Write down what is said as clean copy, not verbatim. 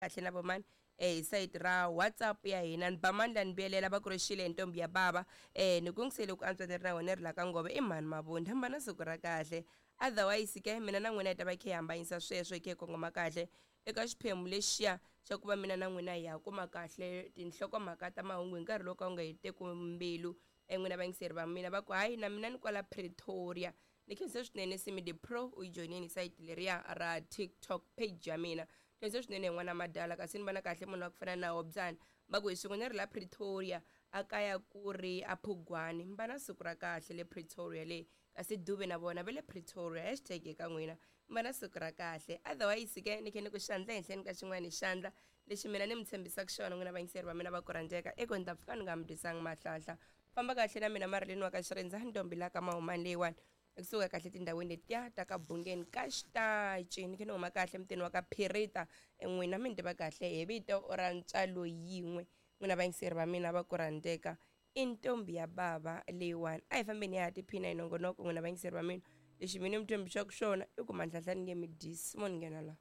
Kahle na vomani hi sayiti ra WhatsApp ya hina. Ni ba mandla ni vuyelela va ku ri xile ntombi ya bava. Ni ku ngisele ku antswa ni ri na wena ri la ka ngove i mhani mabunda hamba na siku ra kahle. Otherwise ke mina na n'wina hi ta va hi kha hi hambanyisa sweswo hi kha hi kongoma kahle eka xiphemu lexiya xa ku va mina na n'wina hi ya kuma kahle tinhlokomhaka ta mahungu hi nkarhi lowu ka wu nga heteku mbilu. N'wina vayingiseri va mina va ku hayi na mina ni kwala Pretoria. Ni khense swinene Simi the Pro u yi joyinini sayiti leriya ra TikTok page ya mina. Khense swinene hi n'wana madala kasi ni vona kahle munhu wa ku fana na Hobyani va ku hi swin'we ni ri la Pretoria a kaya ku ri a Phugwani mi va na siku ra kahle le Pretoria le kasi Dube na vona va le Pretoria hashtag eka n'wina mi va na siku ra kahle otherwise ke ni khe ni ku xandla henhleni ka xin'wana xandla lexi mina ni mi tshembisaka xona n'wina vayingiseri va mina va ku rhandzeka i ku ni ta pfuka ni nga mi dyisanga mahlahla famba kahle na mina Marilyn wa ka Xirindza ntombi la ka Mahumani leyiwani ekusuka kahle tindhawini letiya ta ka Bungeni ka Xitaci ni khe ni huma kahle mutini wa ka Phirita n'wina mi ni tiva kahle hi vito ra ntswalo yin'we n'wina vayingiseri va mina va ku rhandzeka i ntombi ya bava leyiwani a hi fambeni ya ha tiphina hi nongonoko n'wina vayingiseri va mina lexi mina mi tshembisaka xona i ku mandlahla ni nge mi dyisi mo ni nghena laha.